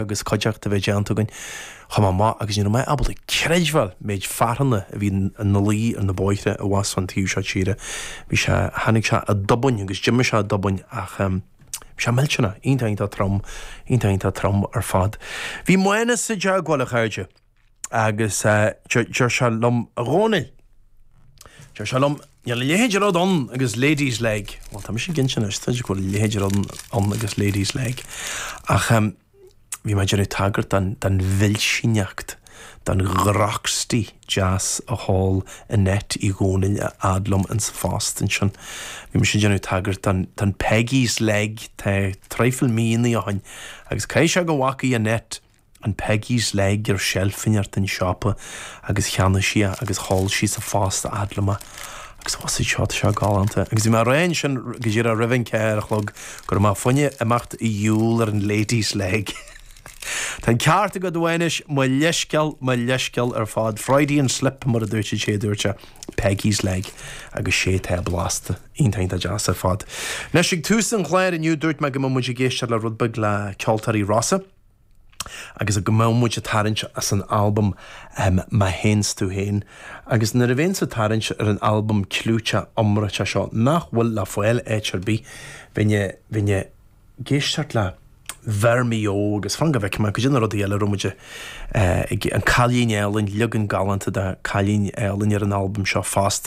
Agus cuideachta a bheith déanta againn, chuaigh mé amach agus ní raibh mé ábalta creidbheáil méid fearthanna a bhí ina luí ar na bóithre abhus an taobh seo tíre. Bhí sé, tháinig sé i dtobainn agus d'imigh sé i dtobainn ach bhí sé millteanach, iontach iontach trom, iontach iontach trom ar fad. Bhí Mánas i dteagmháil, a chairde. Agus deir sé liom, a Dhónaill, deir sé liom, níl a leithéid de rud ann agus ladies leg. Bhuel, tá mise cinnte anois, tá go bhfuil a leithéid de rud ann agus ladies leg. Ach bhí mé ag déanamh tagairt don, don mhilsíneacht, don ghroxty deas a sheol Annette Uí Dhónaill a fhad liom insa phost ansin. Bhí mise ag déanamh tagairt don, don Peggy's leg, tá traidhfil míonna ó shin, agus caithfidh sé go bhfacaidh Annette an Peggy's Leg ar seilf inteacht den siopa agus cheannaigh sí é agus sheol sí sa phost a fhad liom é. Agus thosaigh seo, tá sé galánta. Agus bhí mé ag rá ansin go díreach roimh an ceathair a chlog go raibh mé fá choinne imeacht a dhiúl ar an Ladies Leg. Tá an ceart agat a Mhánais, mo leithscéal, mo leithscéal ar fad. Freudian slip mar a dúirt an té a dúirt é. Peggy's Leg agus sé tá blasta. Iontach iontach deas ar fad. Anois ag tús an chláir inniu dúirt mé go mbeadh muid ag éisteacht le rud beag le Ceoltóirí Rossa. agus go mbeadh muid ag tarraingt as an albam Mé Féin 's Tú Féin. Agus nuair a bheinnse ag tarraingt ar an albam clúiteach iomráiteach seo, nach bhfuil le fáil áit ar bith, bheinn, bheinn ag éisteacht le Fear Mhaigh Eo agus fan go bhfeicfidh mé goidé na rudaí eile a raibh muid ag, An Cailín Álainn, leagan galánta de Cailín Álainn ar an albam seo fosta.